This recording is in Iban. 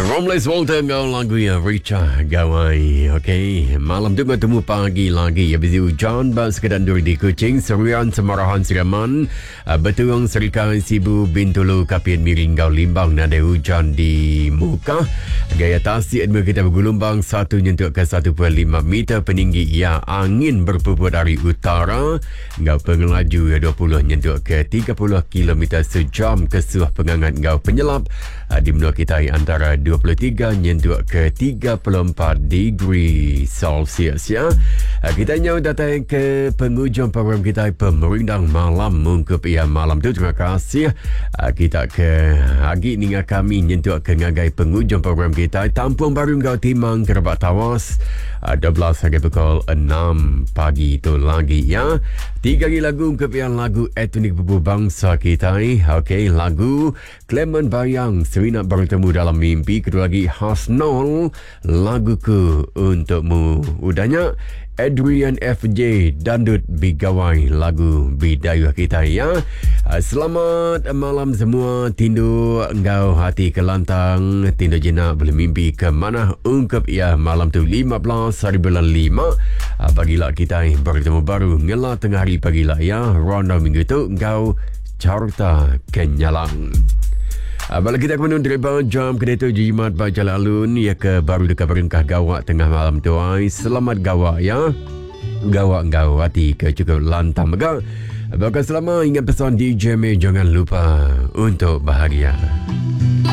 Romles Walter enggau lagu iya Richah Gawai. Okey, malam tu bertemu pagi lagi. Ya busy hujan ba sekeda endur di Kuching, Serian, Semarahan, Siraman, eh, Betung, Serikai, Sibu, Bintulu, Kapit, Miri enggau Limbang nadai hujan di muka. Gaya tasik endur kita bergelombang 1 nyentuk ke 1.5 meter peninggi ia angin berpuput dari utara enggau pengelaju iya 20 nyentuk ke 30 kilometer sejam kesuh pengangat enggau penyelap ah, di menua kitai antara 23 nyentuk ke 34 degree Celsius ya. Ah, kita nyau datai ke pengujung program kitai pemerindang malam mungkup ia malam tu. Terima kasih ah, kita ke agi ninga kami nyentuk ke ngagai pengujung program kitai tampung baru enggau timang kerebak tawas 12 hari pukul 6 pagi tu lagi ya. Tiga lagi lagu ungkup ia lagu etnik bubu bangsa kitai. Okey, lagu Clement Bayang Semina Bertemu Dalam Mimpi. Kedua lagi Hasnol Laguku Untukmu. Udahnya Adrian FJ Dandut Bigawai lagu Bidayuh kita ya. Ah, selamat malam semua tindu enggau hati kelantang tindu jinak boleh mimpi ke mana ungkup ya malam tu 15 hari bulan 5 ah, pagila kita bertemu baru ngela tengah hari pagila ya round minggu tu enggau Carta Kenyalang. Ah, bala kita ke deriba jam kereta jimat ba jalan alun ya ke baru dekat berengkah gawak tengah malam tu ai. Selamat gawak ya. Gawak enggau hati ke cukup lantang mega. Bakal selama ingat pesan DJ May jangan lupa untuk bahagia.